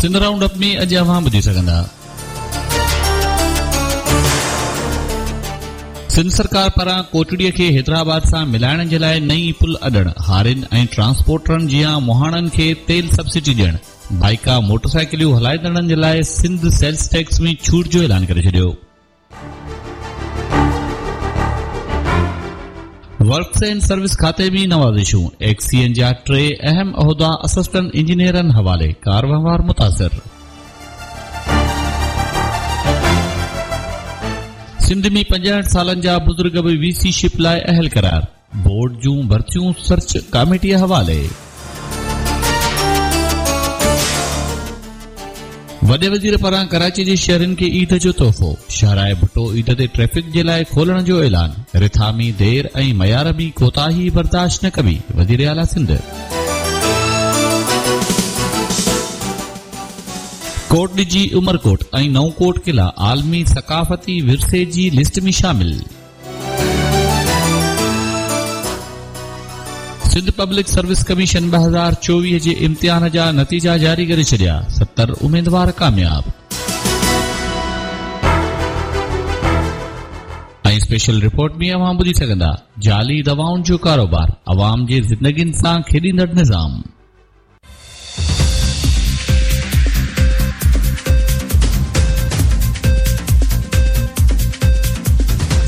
Sindh round up ۾ اڄ اوهان ٻڌي سگهندا. سنڌ سرڪار پاران ڪوٽڙي کي حيدرآباد سان ملائڻ جي لاء نئين پل اڏڻ، هارين ۽ ٽرانسپورٽرن جيان مهاڻن کي تيل سبسڊي ڏيڻ، بائيڪا موٽرسائيڪليون هلائيندڙن جي لاء سنڌ سيلز ٽيڪس ۾ ڇوٽ جو اعلان ڪري ڇڏيو. ورڪس اينڊ سروس کاتي ۾ نوازشون، ايڪسين جا ٽي اهم عهدا اسسٽنٽ انجنيئرن حوالي، ڪار وهنوار متاثر. سنڌ ۾ 65 سالن جا بزرگ به وي سي شپ لاء اهل قرار، بورڊ جون ڀرتيون سرچ ڪاميٽيء حوالي. وڏي وزير پاران ڪراچي جي شهرين کي عيد جو تحفو، شاهراهه ڀٽو عيد تي ٽريفڪ جي لاء کولڻ جو اعلان، رٿا ۾ دير ۽ معيار ۾ ڪوتاهي برداشت نه ڪبي، وزيراعليٰ سنڌ. ڪوٽ ڏجي، عمرڪوٽ ۽ نئون ڪوٽ قلعا عالمي ثقافتي ورثي جي لسٽ ۾ شامل. سنڌ پبلڪ سروس ڪميشن 2024 جي امتحان جا نتيجا جاري ڪري ڇڏيا، 70 اميدوار ڪامياب. ۽ اسپيشل رپورٽ ۾ اوهان ٻڌي سگهندا، جعلي دوائن جو ڪاروبار، عوام جي زندگين سان کيڏيندڙ نظام.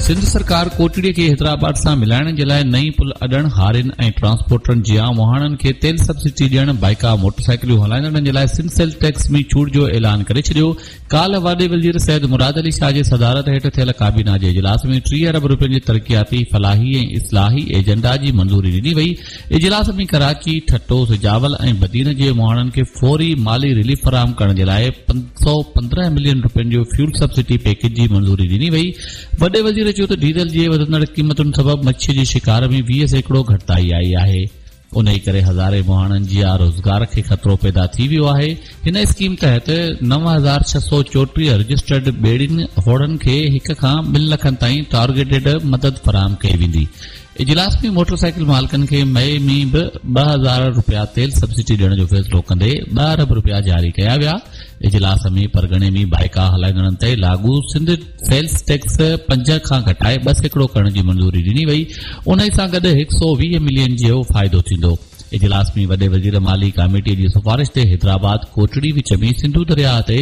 سنڌ سرڪار ڪوٽڙي کي حيدرآباد سان ملائڻ جي لاء نئين پل اڏڻ، هارين ۽ ٽرانسپورٽرن جيان مهاڻن کي تيل سبسڊي ڏيڻ، بائيڪا موٽرسائيڪليون هلائيندڙن جي لاء سنڌ سيلز ٽيڪس ۾ ڇوٽ جو اعلان ڪري ڇڏيو. ڪالهه وڏي وزير سيد مراد علي شاهه جي صدارت هيٺ ٿيل ڪابينا جي اجلاس ۾ 30 ارب روپين جي ترقياتي، فلاحي ۽ اصلاحي ايجنڊا جي منظوري ڏني وئي. اجلاس ۾ ڪراچي، ٺٽو، سجاول ۽ بدين جي مهاڻن کي فوري مالي رليف فراهم ڪرڻ جي لاء 515 ملين روپين جو فيول سبسڊي پيڪيج جي منظوري ڏني وئي. وڏي وزير چيو ته ڊيزل جي وڌندڙ قيمتن سبب مڇي جي شڪار ۾ 20% گهٽتائي آئي آهي. انهي ڪري هزارين مهاڻن جي روزگار کي خطرو پيدا ٿي ويو آهي. هن اسڪيم تحت 9634 رجسٽرڊ ٻيڙين هوڙن کي هڪ کان ٻن لکن تائين ٽارگيٽيڊ مدد فراهم ڪئي ويندي. اجلاس ۾ موٽر سائيڪل مالڪن کي مئي ۾ به 2000 رپيا تيل سبسڊي ڏيڻ جو فيصلو ڪندي ٻه ارب رپيا جاري ڪيا ويا. اجلاس ۾ پرڳڻي ۾ بائيڪا هلائيندڙن تي لاڳو سنڌ سيلز ٽيڪس 5 کان گهٽائي 2% ڪرڻ جي منظوري ڏني وئي، انهي سان گڏ 120 ملين جو فائدو ٿيندو. اجلاس ۾ وڏي وزير مالي ڪاميٽي جي سفارش تي حيدرآباد ڪوٽڙي وچ ۾ سنڌو درياهه تي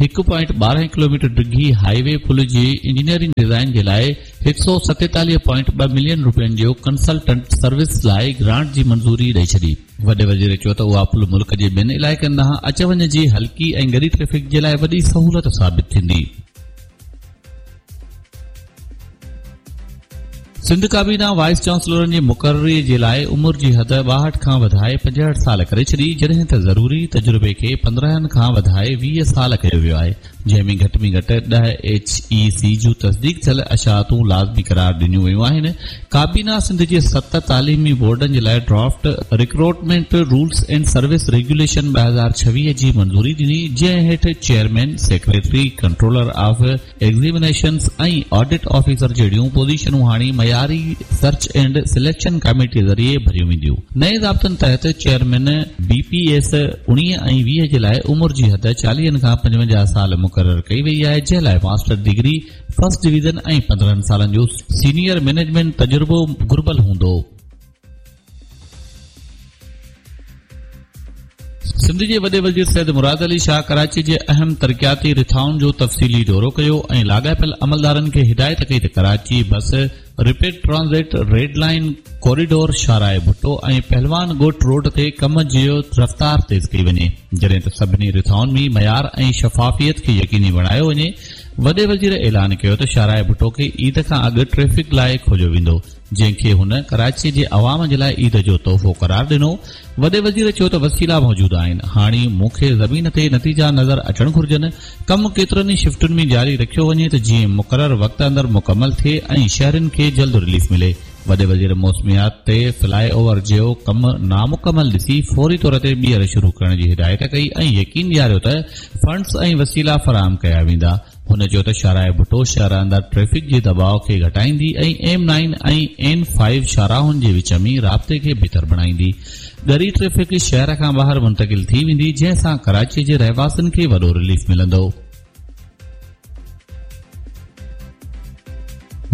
هڪ پوائنٽ 12 ڪلوميٽر ڊگهي هاء وي پل جي انجنيئرنگ ڊزائين جي لاء 147 پوائنٽ ٻه ملين روپين جو ڪنسلٽنٽ سروس لاء گرانٽ جي منظوري ڏئي ڇڏي. وڏي وزير چيو ته اها پل ملڪ جي ٻين علائقن ڏانهن اچ وڃ جي هلڪي ۽ ڳري ٽريفڪ جي لاء وڏي سهولت ثابت ٿيندي. سنڌ ڪابينا وائيس چانسلرن جي مقرري جي لاء عمر جي حد 62 کان وڌائي 65 سال ڪري ڇڏي، جڏهن ته ضروري تجربي کي 15 کان وڌائي 20 سال ڪيو ويو آهي، جنهن ۾ گهٽ ۾ گهٽ 10 ايڇ اي سي جون تصديق ٿيل اشاعتون لازمي قرار ڏنيون ويون آهن. ڪابينا سنڌ جي ست تعليمي بورڊن جي لاء draft recruitment rules and service regulation 2026 جي منظوري ڏني، جنهن هيٺ chairman, secretary, controller of examinations ۽ audit officer جهڙيون پوزيشنون هاڻي معياري سرچ اينڊ سليڪشن ڪاميٽي ذريعي ڀريون وينديون. نئين ضابطن تحت چيئرمين بي پي ايس 19 ۽ 20 جي لاء عمر جي حد 40 کان 55 سال مقرر ڪئي وئي آهي جنهن لاء ماسٽر ڊگري فرسٽ ڊويزن ۽ 15 سالن جو سينيئر مئنيجمينٽ تجربو گهربل هوندو. سنڌ جي وڏي وزير سيد مراد علي شاهه ڪراچي جي اهم ترقياتي رٿائن جو تفصيلي دورو ڪيو ۽ لاڳاپيل عملدارن کي هدايت ڪئي ته Karachi bus rapid transit, red line corridor, شاهراهه ڀٽو ۽ پهلوان ڳوٺ روڊ تي ڪم جي رفتار تيز ڪئي وڃي، جڏهن ته سڀني رٿائن ۾ معيار ۽ شفافيت کي يقيني بڻايو وڃي. وڏي وزير اعلان ڪيو ته شاهراهه ڀٽو کي عيد کان اڳ ٽريفڪ لاء کوليو ويندو. جنهن کي هن ڪراچي جي عوام جي لاء عيد جو تحفو قرار ڏنو. وڏي وزير چيو ته وسيلا موجود آهن، هاڻي مون کي زمين تي نتيجا نظر اچڻ گهرجن، ڪم ڪيترن ئي شفٽن ۾ جاري رکيو وڃي ته جيئن مقرر وقت اندر مڪمل ٿئي ۽ شهرين کي جلد رليف ملي. وڏي وزير موسميات تي فلاء اوور جو ڪم نامڪمل ڏسي فوري طور تي ٻيهر شروع ڪرڻ جي هدايت ڪئي ۽ يقين ڏياريو ته فنڊز ۽ وسيلا فراهم ڪيا ويندا. هن چيو ته شاهراهه ڀٽو شهر اندر ٽريفڪ جي دٻاء کي گهٽائيندي ۽ ايم نائن ۽ اين فائيو شاهراهن جي وچ ۾ رابطي کي بهتر بڻائيندي. ڳري ٽريفڪ شهر کان ٻاهر منتقل ٿي ويندي، جنهن سان ڪراچي جي رهواسين کي وڏو رليف ملندو.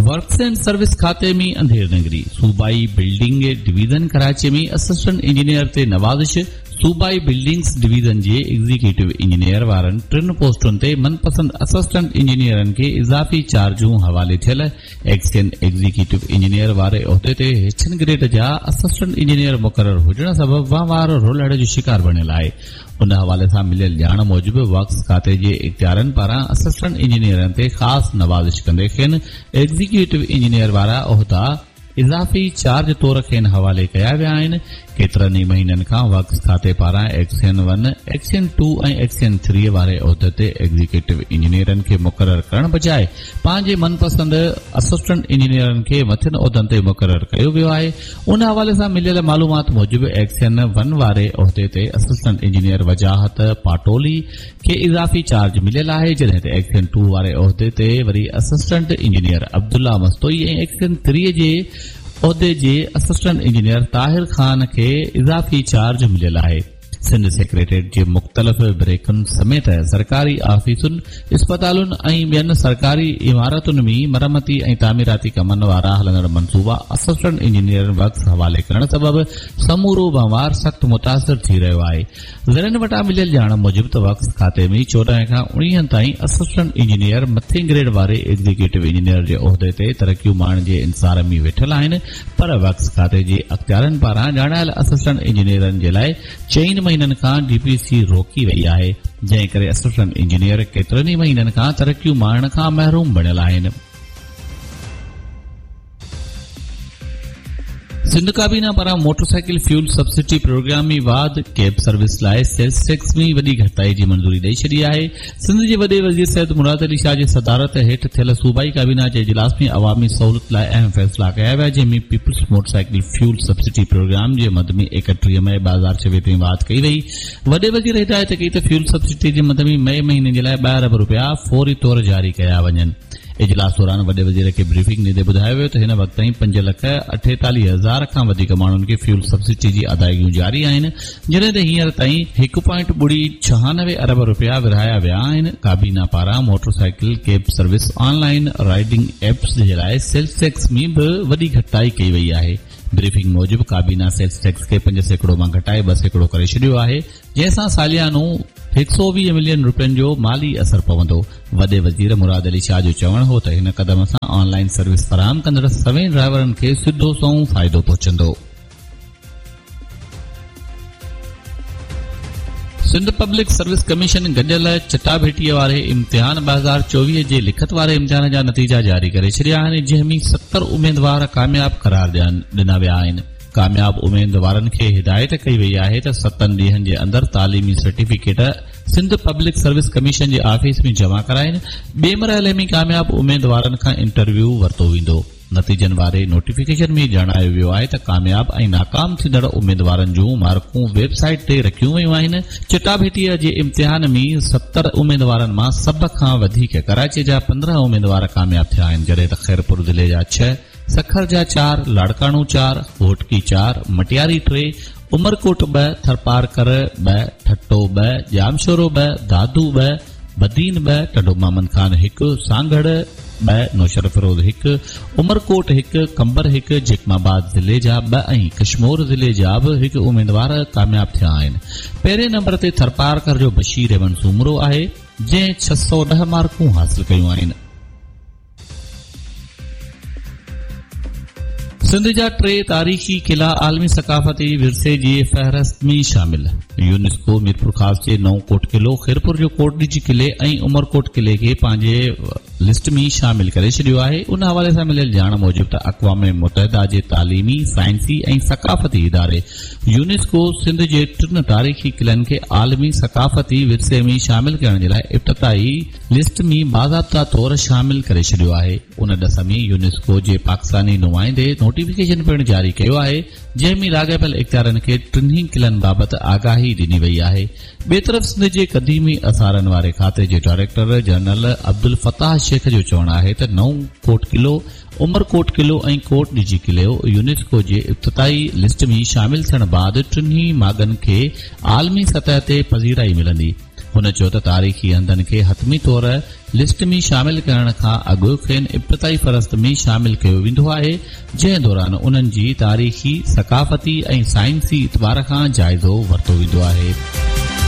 ورڪس اينڊ سروس کاتي ۾ انڌير نگري، صوبائي building division Karachi ۾ assistant engineer تي نوازش، صوبائي بلڊنگس ڊويزن جي ايگزيڪيوٽو انجنيئر وارن ٽن پوسٽن تي من پسند اسسٽنٽ انجنيئرن کي اضافي چارجون حوالي ٿيل ايڪسين ايگزيڪيوٽو انجنيئر واري عهدي تي هيٺين گريڊ جا اسسٽنٽ انجنيئر مقرر هجڻ سبب وهنوار رولڙ جو شڪار بڻيل آهي. ان حوالي سان مليل ڄاڻ موجب ورڪس کاتي جي اختيارين پاران اسسٽنٽ انجنيئرن تي خاص نوازش ڪندي کين ايگزيڪيوٽو انجنيئر وارا عهدا اضافي چارج طور کين حوالي ڪيا ويا آهن. ڪيترن ئي مهينن کان ورڪس کاتي پاران XEN one, XEN two ۽ XEN three واري عهدي تي ايگزيڪيوٽو انجنيئرن کي مقرر ڪرڻ بجاء پنهنجي من پسند اسسٽنٽ انجنيئرن کي مٿين عهدن تي مقرر ڪيو ويو آهي. ان حوالي سان مليل معلومات موجب ايڪسين ون واري عهدي تي اسسٽنٽ انجنيئر وجاهت پاٽولي کي اضافي چارج مليل آهي جڏهن ته ايڪسين ٽو واري عهدي تي وري assistant engineer Abdullah Mastoi ۽ XEN three جي عهدي جي اسسٽنٽ انجنيئر طاهر خان کي اضافي چارج مليل آهي. سنڌ سيڪريٽريٽ جي مختلف بريڪن سميت سرڪاري آفيسن، اسپتالن ۽ ٻين سرڪاري عمارتن ۾ مرمتي ۽ تعميراتي ڪمن وارا هلندڙ منصوبا اسسٽنٽ انجنيئرن ورڪس حوالي ڪرڻ سبب سمورو وهنوار سخت متاثر ٿي رهيو آهي. ذريعن وٽان مليل ڄاڻ موجب ته ورڪس کاتي ۾ 14 کان 19 تائين اسسٽنٽ انجنيئر مٿين گريڊ واري ايگزيڪيوٽو انجنيئر جي عهدي تي ترقيون ماڻڻ جي انتظار ۾ ويٺل آهن پر ورڪس کاتي جي اختيارين پاران ڄاڻايل اسسٽنٽ انجنيئرن جي لاء چئن مهينن کان ڊي پي سي روڪي وئي آهي جنهن ڪري اسسٽنٽ انجنيئر ڪيترن ئي مهينن کان ترقيون ماڻڻ کان محروم بڻيل آهن. سنڌ ڪابينا پاران موٽرسائيڪل فيول سبسڊي پروگرام ۾ واڌ، ڪيب سروس لاء سيلز ٽيڪس ۾ وڏي گهٽتائي جي منظوري ڏئي ڇڏي آهي. سنڌ جي وڏي وزير سيد مراد علي شاهه جي صدارت هيٺ ٿيل صوبائي ڪابينا جي اجلاس ۾ عوامي سهولت لاء اهم فيصلا ڪيا ويا جنهن ۾ peoples motorcycle fuel subsidy programme جي مد ۾ 31 مئي 2026 تائين واڌ ڪئي وئي. وڏي وزير هدايت ڪئي ته فيول سبسڊي جي مد ۾ مئي مهيني جي لاء 2 ارب رپيا فوري طور جاري ڪيا وڃن. اجلاس دوران وڏي وزير کي بريفنگ ڏيندي ٻڌايو ويو ته هن وقت تائين 5 لک 48 هزار کان وڌيڪ ماڻهن کي فيول سبسڊي جي ادائيگيون جاري آهن جڏهن ته هينئر تائين هڪ پوائنٽ ٻڙي 96 ارب رپيا ورهايا ويا آهن. ڪابينا پاران motorcycle cab service online riding apps جي لاء سيلز ٽيڪس ۾ به وڏي گهٽتائي ڪئي وئي آهي. بريفنگ موجب ڪابينا سيلز ٽيڪس کي 5% مان گهٽائي 2% ڪري ڇڏيو آهي. جنهن سان ساليانو 120 ملين رپين جو مالي اثر پوندو. وڏي وزير مراد علي شاهه جو چوڻ هو ته هن قدم سان آن لائن سروس فراهم ڪندڙ سوين ڊرائيورن کي سڌو سنئون فائدو پهچندو. سنڌ پبلڪ سروس ڪميشن گڏيل چٽاڀيٽي واري امتحان 2024 جي لکت واري امتحان جا نتيجا جاري ڪري ڇڏيا آهن جنهن ۾ 70 اميدوار ڪامياب قرار ڏنا ويا آهن. ڪامياب اميدوارن کي هدايت ڪئي وئي آهي ته ستن ڏينهن جي اندر تعليمي certificate Sindh public service commission جي آفيس ۾ جمع ڪرائين، ٻئي مرحلي ۾ ڪامياب اميدوارن کان انٽرويو ورتو ويندو. نتيجن واري نوٽيفڪيشن ۾ ڄاڻايو ويو آهي ته ڪامياب ۽ ناڪام ٿيندڙ اميدوارن جون مارڪون ويب سائيٽ تي رکيون ويون آهن، چٽاڀيٽيء جي امتحان ۾ 70 اميدوارن مان سڀ کان وڌيڪ ڪراچي جا 15 اميدوار ڪامياب ٿيا آهن، جڏهن ته خيرپور ضلعي جا ڇهه، سکر جا چار، لاڙڪاڻو چار، گهوٽڪي چار، مٽياري ٽي، عمرڪوٽ ٻه، ٿرپارڪر ٻه، ٺٽو ٻه، ڄامشورو ٻه، دادو ٻه، بدين ٻه، ٽنڊو محمد خان هڪ، سانگهڙ ٻه، نوشهروفيروز هڪ، عمرڪوٽ هڪ، قمبر هڪ، جيڪب آباد ضلعي جا ٻه ۽ ڪشمور ضلعي جا به هڪ اميدوار ڪامياب ٿيا آهن. پهرين نمبر تي ٿرپارڪر جو بشير احمد سومرو آهي، جنهن 610 مارڪون حاصل ڪيون آهن. سنڌ جا ٽي تاريخي قلعا عالمي ثقافتي ورثي جي فهرست ۾ شامل، يونيسڪو ميرپورخاص جي نئون ڪوٽ قلعو، خيرپور جو ڪوٽڏجي قلعي ۽ عمرڪوٽ قلعي کي پنهنجي لسٽ ۾ شامل ڪري ڇڏيو آهي. ان حوالي سان مليل ڄاڻ موجب ته اقوام متحده جي تعليمي، سائنسي ۽ ثقافتي اداري يونيسڪو سنڌ جي ٽن تاريخي قلعن کي عالمي ثقافتي ورثي ۾ شامل ڪرڻ جي لاء ابتدائي لسٽ ۾ باضابطا طور شامل ڪري ڇڏيو آهي. ان ڏس ۾ يونيسڪو جي پاڪستاني نمائندي نوٽيفڪيشن پڻ جاري ڪيو آهي. جنهن ۾ لاڳاپيل اختيارين کي ٽنهي قلعن بابت آگاهي ڏني وئي آهي. ٻئي طرف سنڌ جي قديمي آثارن واري کاتي جي ڊائريڪٽر جنرل عبدالفتاح شيخ جو چوڻ آهي ته نئون ڪوٽ قلعو، عمرڪوٽ قلعو ۽ ڪوٽ ڏيجي قلعو يونيسڪو جي ابتدائي لسٽ ۾ شامل ٿيڻ بعد ٽنهي ماڳن کي عالمي سطح تي پذيرائي ملندي. هن چيو ته تاريخي هنڌن کي حتمي طور لسٽ ۾ شامل ڪرڻ کان اڳ کين ابتدائي فهرست ۾ شامل ڪيو ويندو آهي، جنهن دوران انهن جي تاريخي، ثقافتي ۽ سائنسي اعتبار کان جائزو ورتو ويندو آهي.